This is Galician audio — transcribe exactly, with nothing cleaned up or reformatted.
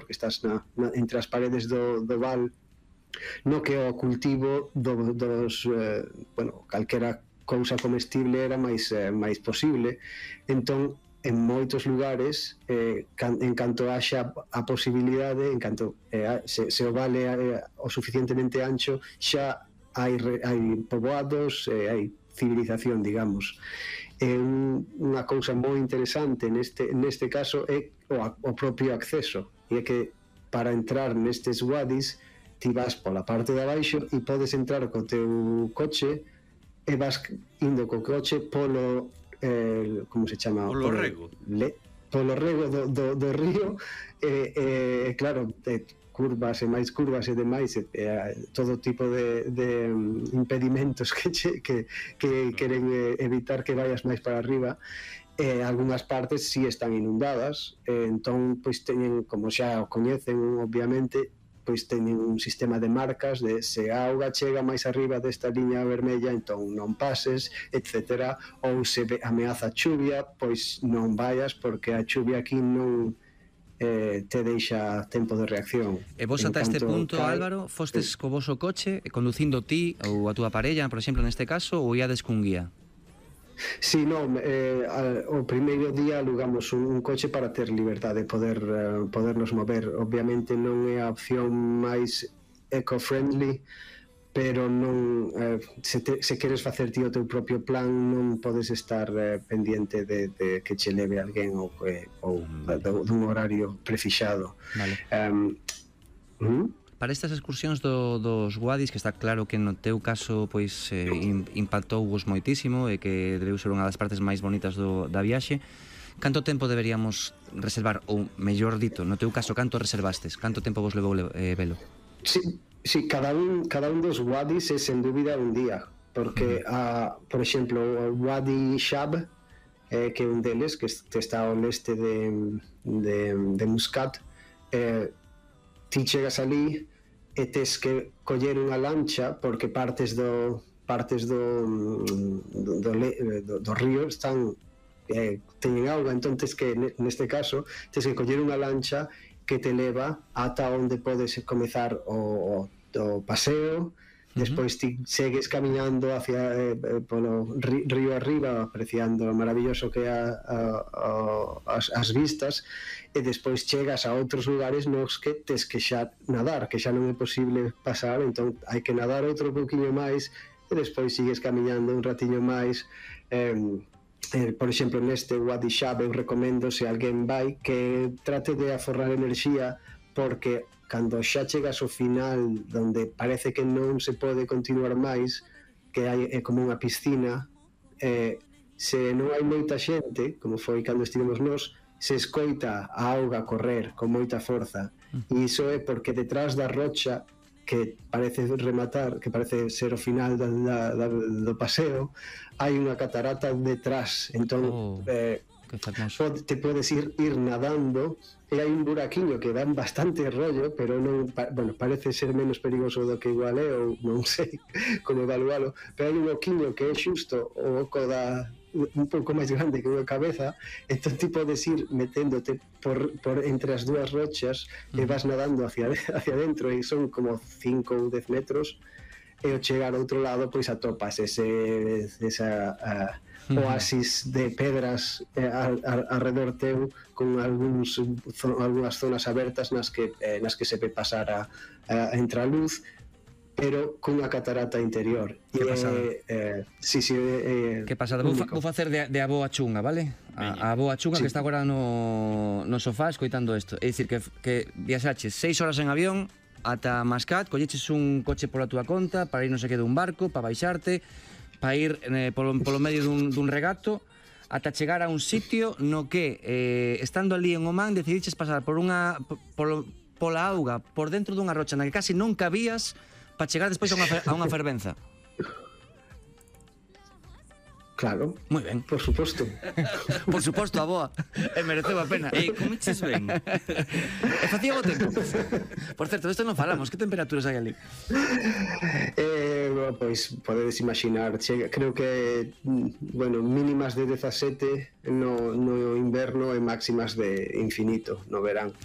porque estás na, na, entre as paredes do, do val, no que o cultivo do, dos, eh, bueno, calquera cousa comestible era máis, eh, máis posible. Entón, en moitos lugares, eh, can, en canto haxa a posibilidade, en canto eh, se, se o vale eh, o suficientemente ancho, xa hai, hai poboados, eh, hai civilización, digamos. Eh, un, unha cousa moi interesante neste, neste caso é o, o propio acceso, e é que para entrar nestes wadis ti vas pola parte de abaixo e podes entrar co teu coche e vas indo co coche polo eh, como se chama? Polo, polo rego le, polo rego do, do, do río e eh, eh, claro, eh, curvas e máis curvas e demais, eh, todo tipo de, de impedimentos que, che, que, que queren eh, evitar que vayas máis para arriba. Eh, algunhas partes si sí están inundadas, eh, entón pois teñen, como xa o coñecen obviamente, pois teñen un sistema de marcas de se a auga chega máis arriba desta liña vermella, entón non pases, etcétera, ou se ameaza chuvia, pois non vayas porque a chuvia aquí non eh, te deixa tempo de reacción. E vos ata este punto, cae... Álvaro, fostes co voso coche conducindo ti ou a túa parella, por exemplo, neste caso, ou iades cun guía? Sí, non, eh, o primeiro día alugamos un, un coche para ter liberdade de poder uh, podernos mover. Obviamente non é a opción máis eco-friendly, pero non eh, se, te, se queres facer ti o teu propio plan, non podes estar eh, pendiente de, de que che leve alguén ou, eh, ou de, dun horario prefixado. Vale. Um, ¿hmm? Para estas excursións do, dos wadis, que está claro que no teu caso pois eh, impactou vos moitísimo e que debeu ser unha das partes máis bonitas do, da viaxe, canto tempo deberíamos reservar, ou mellor dito, no teu caso, canto reservastes? Canto tempo vos levou eh, velo? Sí, sí, cada un, cada un dos wadis é sen dúbida un día, porque, uh, por exemplo, o Wadi Shab, eh, que é un deles, que está ao leste de, de, de Muscat, eh, ti chegas ali e tes que coller unha lancha porque partes do partes do do, do, do, do río están eh, teñen auga, entón tes que neste caso tes que coller unha lancha que te leva ata onde podes comezar o, o paseo. Despois ti segues camiñando hacia eh, polo río arriba, apreciando o maravilloso que é a, a, a, as, as vistas, e despois chegas a outros lugares nos que tes que xa nadar, que xa non é posible pasar, entón hai que nadar outro pouquiño máis e despois sigues camiñando un ratiño máis. eh, eh, por exemplo, neste Wadi Shab eu recomendo, se alguén vai, que trate de aforrar enerxía, porque cando xa chegas ao final donde parece que non se pode continuar máis, que hai, é como unha piscina, eh, se non hai moita xente, como foi cando estivemos nós, se escoita a auga correr con moita forza, e iso é porque detrás da rocha que parece rematar, que parece ser o final da, da, da, do paseo, hai unha catarata detrás, entón oh. eh, te podes ir, ir nadando e hai un buraquiño que dan bastante rollo, pero non, bueno, parece ser menos perigoso do que igual é, ou non sei como evalualo, pero hai un oquiño que é xusto o oco da un pouco máis grande que unha cabeza, entón ti podes ir meténdote por, por entre as dúas rochas e vas nadando hacia, hacia dentro, e son como cinco ou dez metros, e ao chegar ao outro lado pois atopas ese esa uh, oasis de pedras eh, alrededor teu, con algúns zo, algunhas zonas abertas nas que eh, nas que se ve pasar a, a entra a luz, pero cunha catarata interior. Que pasada. Eh, sí, sí, eh, que pasada. Vou, fa, vou facer de, de a boa chunga, vale? A, a boa chunga, sí, que está agora no, no sofá escoitando isto. É dicir, que, que viaxaches seis horas en avión ata Mascat, colleches un coche pola túa conta para ir non sei que dun barco, para baixarte, para ir eh, polo, polo medio dun, dun regato, ata chegar a un sitio no que, eh, estando ali en Oman, decidiches pasar por unha por, pola auga, por dentro dunha rocha na que casi non cabías, para chegar despois a unha, a unha fervenza. Claro, moi ben, por suposto. Por suposto, a boa. E mereceu a pena. E comeches ben. E facía bo tempo. Por certo, isto non falamos. Que temperaturas hai ali? Eh, bueno, pois podedes imaginar, chega, creo que bueno, mínimas de dezasete no, no inverno e máximas de infinito no verán.